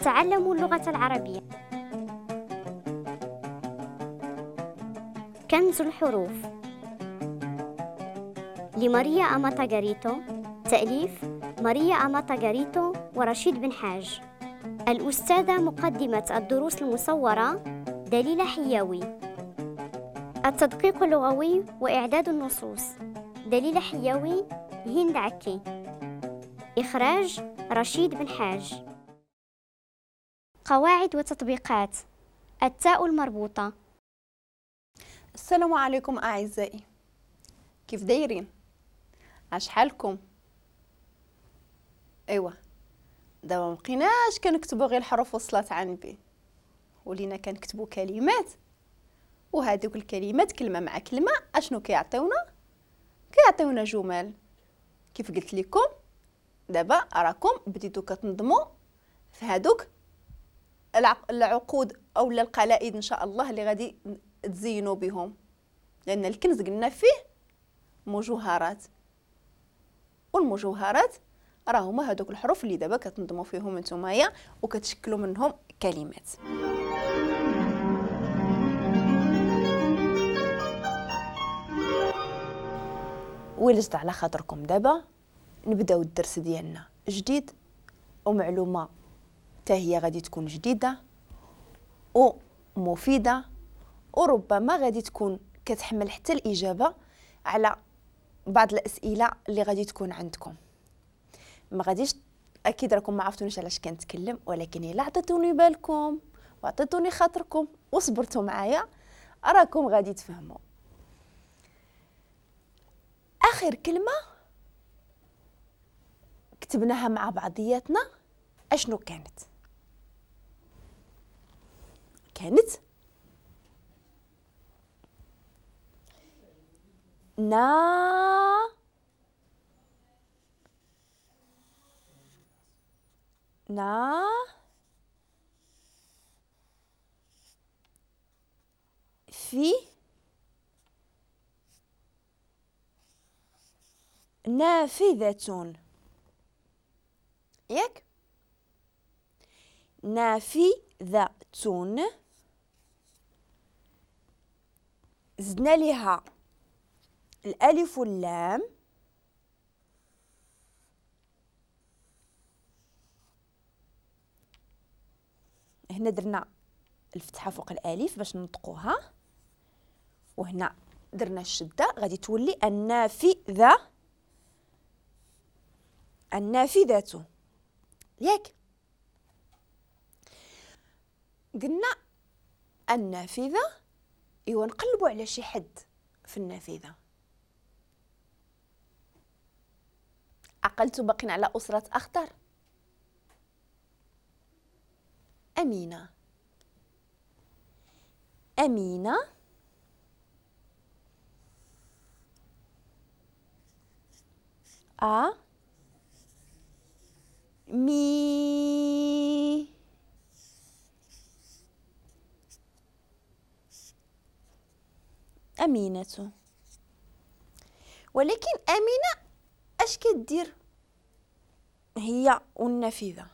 نتعلم اللغة العربية. كنز الحروف لماريا أماتا غاريتو، تأليف ماريا أماتا غاريتو ورشيد بن حاج. الأستاذة مقدمة الدروس المصورة دليلة حياوي. التدقيق اللغوي وإعداد النصوص دليلة حياوي، هند عكي. إخراج رشيد بن حاج. قواعد وتطبيقات التاء المربوطة. السلام عليكم أعزائي، كيف دايرين؟ اش حالكم؟ ايوا دابا مبقيناش كنكتبوا غير الحروف وصلات عن بي، ولينا كنكتبوا كلمات، وهذوك الكلمات كلمة مع كلمة اشنو كيعطيونا؟ كيعطيونا جمل. كيف قلت لكم دابا راكم بديتو كتنظموا في هذوك العقود او القلائد ان شاء الله اللي غادي تزينوا بهم، لان الكنز قلنا فيه مجوهرات، والمجوهرات راه هما هذوك الحروف اللي دابا كتنظموا فيهم نتومايا وكتشكلوا منهم كلمات. ولجت على خاطركم دابا نبداو الدرس ديالنا جديد، ومعلومه حتى هي غادي تكون جديدة ومفيدة، وربما غادي تكون كتحمل حتى الاجابة على بعض الاسئلة اللي غادي تكون عندكم. ما غاديش اكيد راكم ما عرفتونيش علاش كنتكلم، ولكن الا عطيتوني بالكم وعطيتوني خاطركم وصبرتوا معايا راكم غادي تفهموا. اخر كلمة كتبناها مع بعضياتنا اشنو كانت؟ كانت نا نا في نافذة، ياك؟ نافذة زدنا لها الألف واللام، هنا درنا الفتحة فوق الألف باش ننطقوها، وهنا درنا الشدة غادي تولي النافذة، النافذة، ياك؟ قلنا النافذة، ايوا نقلبوا على شي حد في النافذة. عقلتوا باقين على أسرة أخضر؟ أمينة، أمينة أ مي أمينة. ولكن أمينة اش كدير هي والنافذة؟